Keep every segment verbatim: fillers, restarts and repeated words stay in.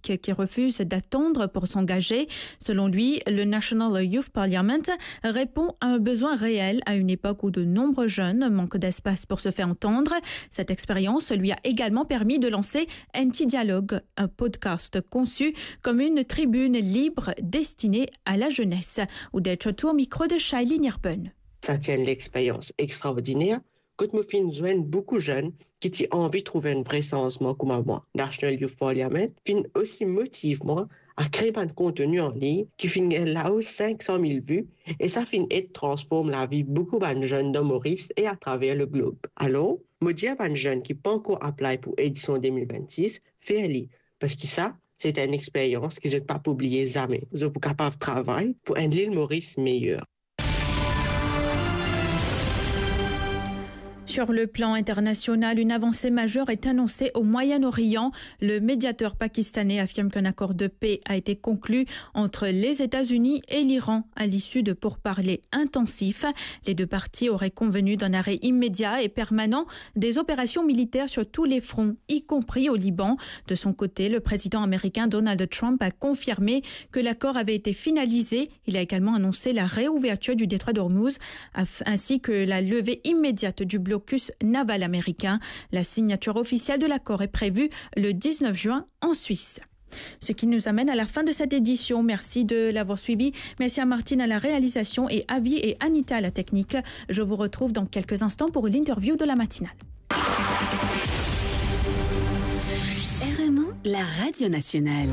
qui refuse d'attendre pour s'engager. Selon lui, le National Youth Parliament répond à un besoin réel à une époque où de nombreux jeunes manquent d'espace pour se faire entendre. Cette expérience lui a également permis de lancer Anti Dialogue, un podcast conçu comme une tribune libre destinée à la jeunesse. Odette Chotou au micro de Shailene Irben. Sa ti enn lexperyans extraordiner, kot mo finn zwenn boukou jenn ki ti anvi trouv enn vre sanzman kouma mwa. National Youth Parliament finn osi motiv mwa a kre bann konteni an lign ki finn gagn lao sink san mil vi, e sa finn ed transform lavi boukou bann jenn dan Moris e atraver le glob. Alor, mo dir bann jenn ki pankor apply pou edision de mil vennsis, fer li, parski sa, se enn experyans ki zot pa pou bliye zame. Zot pou kapav travay pou enn Lil Moris meyer. Sur le plan international, une avancée majeure est annoncée au Moyen-Orient. Le médiateur pakistanais affirme qu'un accord de paix a été conclu entre les États-Unis et l'Iran à l'issue de pourparlers intensifs. Les deux parties auraient convenu d'un arrêt immédiat et permanent des opérations militaires sur tous les fronts, y compris au Liban. De son côté, le président américain Donald Trump a confirmé que l'accord avait été finalisé. Il a également annoncé la réouverture du détroit d'Ormuz, af-, ainsi que la levée immédiate du blocus naval américain. La signature officielle de l'accord est prévue le dix-neuf juin en Suisse. Ce qui nous amène à la fin de cette édition. Merci de l'avoir suivi. Merci à Martine à la réalisation et Avi et Anita à la technique. Je vous retrouve dans quelques instants pour l'interview de la matinale. R M O, la radio nationale.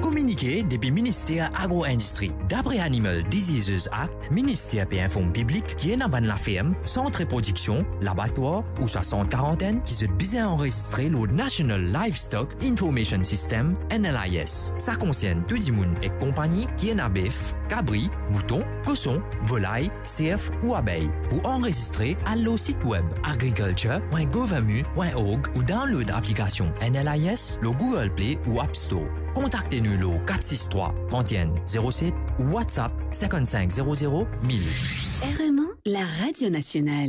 Kominike depi Minister Agro-Indistri. Dapre Animal Diseases Act, minister pe inform piblik ki ena bann laferm, sant reprodiksion, labatwar ouswa sant karantenn ki zot bizin anrezistre lor National Livestock Information System, N L I S. Sa konsern tou dimoun ek konpagni ki ena bef, kabri, mouton, koson, volay, serf ou abey. Pou anrezistre, al lor sit web agriculture point gouv mu point org ou download aplikasion N L I S lor Google Play ou App Store. Kontakte nou lor kat sis trwa, trant enn, zero set ou WhatsApp cinquante-cinq zéro zéro mille. R M O, la radio nationale.